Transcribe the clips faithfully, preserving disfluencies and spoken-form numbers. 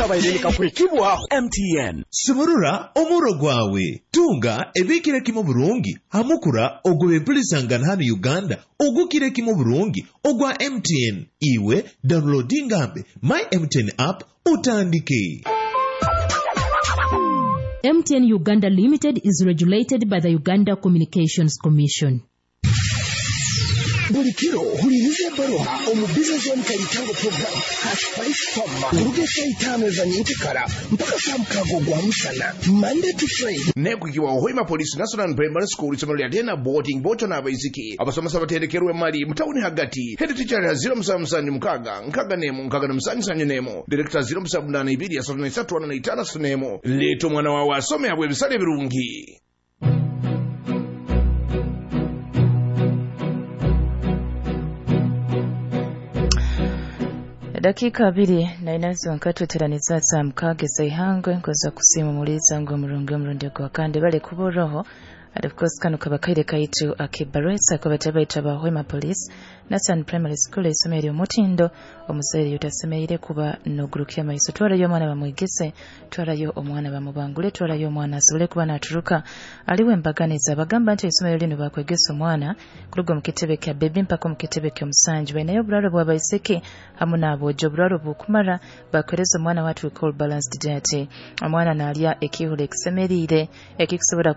Kabaire nikakwekibwaho M T N. Sumurura omuro gwawe. Tunga ebikire kimu burungi hamukura ogw'empulisangana hano Uganda ogukire kimu burungi ogwa M T N. Iwe downloadingambe My M T N app utandike. M T N Uganda Limited is regulated by the Uganda Communications Commission. Buli kiro huliriza ebbaluha omu Business Zone Kalitango program hash five Farmer kuruga saa itaano za nyenkyakara mpaka saa mukaaga ogwa musana Monday to Friday. Nekukiwa Hoima Police National Primary School isomero lya Tena boarding bocho n'abaisiki abasomesa batendekerwe mali mutawuni hagati. Head teacher ya zero musanvu musanju mukaaga nkaaga n'emu nkaaga na musanju sanju n'emu director zero musanvu munaana ibiri asatu na isatu ana na itaano asatu n'emu. Leeta omwana wawe asome abwe ebisale ebirungi. Dakika abiri na inazo nkatweteraniza za mukaaga ez'eihangwe nkoza kusiima muliza ngu omurungi omurundi gwa kandi bale kuboroho. And of course kano kabakaire kaitu akibaresa kwa batabaita ba Hoima Police National Primary School isomero omutindo omuzaire yutasemeire kuba nogurukia maiso. Twarayo omwana bamwegese, twarayo omwana bamubangule, twarayo omwana asobole kuba naturuka aliwe embaganiza. Bagamba nti isomero lino bakwegesa omwana kuruga mu kitebe kya baby mpaka mu kitebe kya omusanju. Bainayo obulalo bw'abaiseke hamu n'aboojo, obulalo bukumara bakwereza omwana what we call balanced diet. Omwana nalya ekihula ekisemerire ekikusobola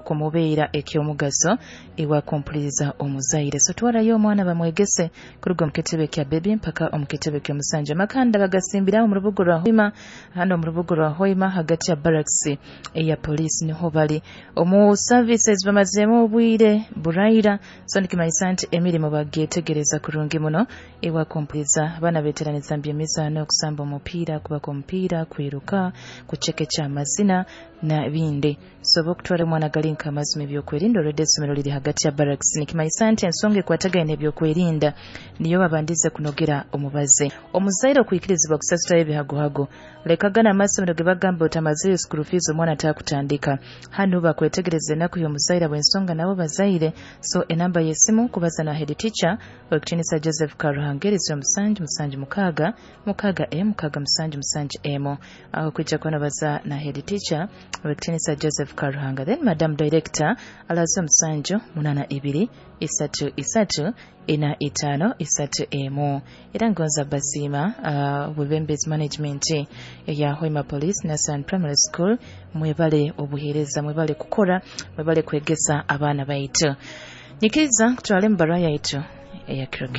kumubeera ekyomugaso iwa kumpuliriza omuzaire. So twarayo omwana bamwegese kuruga mu kitebe kya baby mpaka omu kitebe kya omusanja. Makanda bagasimbiraho mu rubugo rwa Hoima, hano mu rubugo rwa Hoima hagati ya barracks eya police niho bali omu services bamazemu obwire buraira. So nikimanyisa nti emirimu bagyetegereza kurungi muno iwa kumpuliriza. Abaana beteraniza mbyemizaano, okusamba omupiira, kubaka omupiira, kwiruka, kuchekecha amazina na bindi. So bokutwara omwana gali nka amazima ebyokwerinda olwedde essomero liri hagati ya barracks. Nikimanyisa nti ensonga ekwatagaine ebyokwerinda niyo babandize kunogera omubaze. Omuzaire okwikirizibwa kusasulayo ebihagohago lekagana amasomero ge bagamba otamazeyo school fees omwana atakutandika. Hano bakwetegereza ennaku y'omuzaire bw'ensonga nabo bazaire. So enamba y'essimu kubaza na head teacher Owekitinisa Joseph Karuhangeri zero musanju musanju mukaaga mukaaga emu mukaaga musanju musanju emu. Aho kwijja kunobaza na head teacher Owekitinisa Joseph Karuhanga. Then Madam Director alazo musanju munana ibiri isatu isatu ina itano isatu emu. Era ngonza basiima uh, Webembezi Management ya Hoima Police National Primary School, mwebale obuheereza, mwebale kukora, mwebale kwegesa abaana baitu. Nyikiriza kutwale mu barua yaitu eya kiro kino.